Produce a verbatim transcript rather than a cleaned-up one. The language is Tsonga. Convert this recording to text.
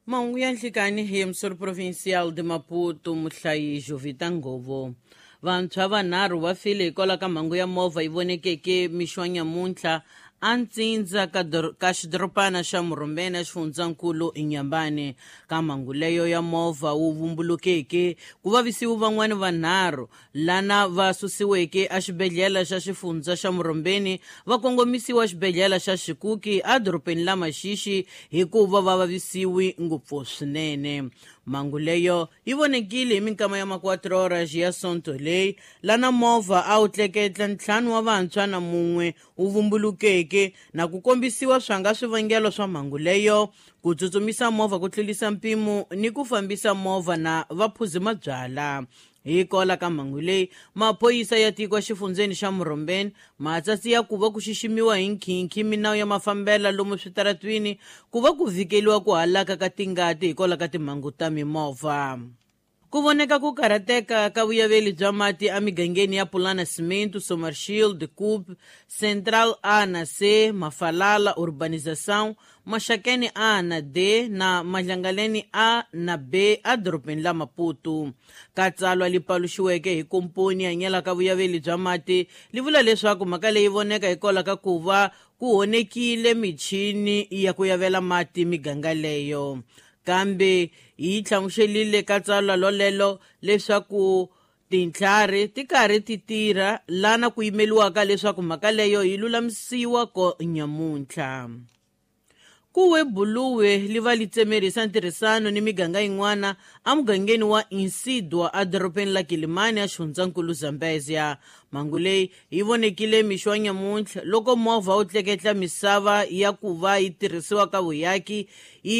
Mahungu ya nhlikani hi Emissor Provincial de Maputo, muhlayi Jovita Ngovo. Vantshwa vanharhu va file hikwalaho ka mhangu ya movha yi vonekeke mixo wa nyamuntlha a ntsindza ka, ka xidorobana xa Murhumbeni xifundzankulu Inhambane. Ka mhangu leyo ya movha wu vumbulukeke ku vavisiwe van'wani vanharhu lana va susiweke exibedhlele xa xifundza xa Murhumbeni va kongomisiwa xibedhlele xa Xikuki edorobeni la Maxixi hikuva va vavisiwi ngopfu swinene. Mhangu leyo yi vonekile hi minkama ya ma-quatro horas ya sonto leyi lana movha a wu tleketla ntlhanu wa vantshwa na mun'we wu vumbulukeke na ku kombisiwa swanga swivangelo swa mhangu leyo, ku tsutsumisa movha ku tlurisa mpimo ni ku fambisa movha na vaphuzi mabyala. Hikwalaho ka mhangu leyi, maphorisa ya tiko exifundzeni xa Murhumbeni matsatsi ya ku va ku xiximiwa hi nkhinkhi minawu ya mafambelo lomu switaratwini ku va ku vhikeliwa ku halaka ka tingati hikwalaho ka timhangu ta mimovha. Ku voneka ku karhateka ka vuyaveli bya mati emigangeni ya Pulana Cimento, Sommerschield, Coop, Central A na C, Mafalala, Urbanização, Maxakeni A na D na Madlangaleni A na B edorobeni la Maputo. Ka tsalwa li paluxiweke hi komponi hanyelaka vuyaveli bya mati li vula leswaku mhaka leyi voneka hikwalaho ka ku va ku honekile michini ya ku yavela mati miganga leyo. Kambe yi hlamuselile ka tsalwa lolelo leswaku tintlhari ti karhi ti tirha lana ku yimeliwaka leswaku mhaka leyo yi lulamisiwa ko nyamuntlha. Ku we buluwe li va li tsemerisa ntirhisano ni miganga yin'wana emugangeni wa Insidwa edorobeni la Kilimani exifundzankulu Zambezia. Mhangu leyi yi vonekile mixo wa nyamuntlha loko movha wu tleketla misava ya ku va yi tirhisiwa ka vuyaki yi